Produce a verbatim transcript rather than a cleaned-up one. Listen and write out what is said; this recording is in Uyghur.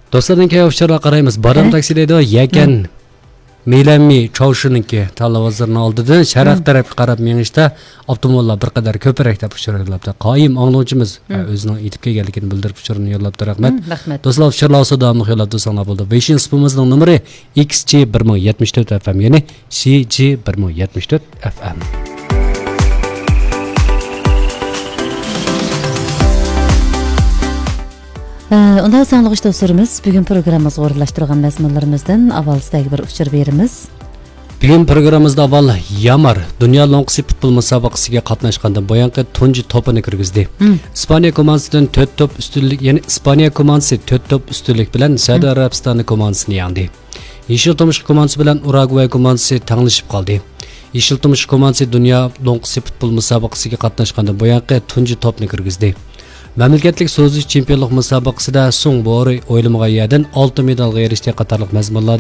دوستلاردىن كېيىن ئۇچۇرلارغا قارايمىز. بادام تاكسى دەيدۇ، يەكەن مىلەنمى چاۋشىنىڭكى تاللىۋازلىرىنىڭ ئالدىدىن شەرق تەرەپكە قاراپ مېڭىشتا ئاپتوموبىللار بىر قەدەر كۆپرەك دەپ ئۇچۇر يوللاپتۇ. قايىم ئاڭلىغۇچىمىز، ھە، ئۆزىنىڭ ئېيتىپ كەلگەنلىكىنى بىلدۈرۈپ ئۇچۇرنى يوللاپتۇ. رەھمەت. رەھمەت. دوستلار، ئۇچۇرلار بولسا داۋاملىق يوللاپ تۇرساڭلار بولىدۇ. ۋېيشىن سۇپىمىزنىڭ نومۇرى ئىكس جى بىر مىڭ يەتمىش تۆت ئەف ئەم، يەنى سى جى بىر مىڭ يەتمىش تۆت ئەف ئەم. ئە، ئۇنداق ساڭلىغۇچ دوستلىرىمىز، بۈگۈن پروگراممىمىزغا ئورۇنلاشتۇرغان مەزمۇنلىرىمىزدىن ئاۋۋال سىزلەرگە بىر ئۇچۇر بېرىمىز. بۈگۈن پروگراممىمىزدا ئاۋۋال يامار دۇنيا لوڭقىسى پۇتبول مۇسابىقىسىگە قاتناشقاندىن بۇيانقى تۇنجى توپىنى كىرگۈزدى. مم. ئىسپانىيە كوماندىسىدىن تۆت توپ ئۈستۈنلۈك، يەنى ئىسپانىيە كوماندىسى تۆت توپ ئۈستۈنلۈك بىلەن سەئۇدى مم. ئەرەبىستانى كوماندىسىنى يەڭدى. يېشىل تۇمشۇق كوماندىسى بىلەن ئۇراگۋاي كوماندىسى تەڭلىشىپ قالدى. يېشىل تۇمشۇق كوماندىسى دۇنيا لوڭقىسى پۇتبول مۇسابىقىسىگە قاتناشقاندىن بۇيانقى تۇنجى توپنى كىرگۈزدى. مەملىكەتلىك سوزۇش چېمپىيونلۇق مۇسابىقىسىدە سۇڭ بورى ئويلىمىغان يەردىن ئالتە مېدالغا ئېرىشتى قاتارلىق مەزمۇنلار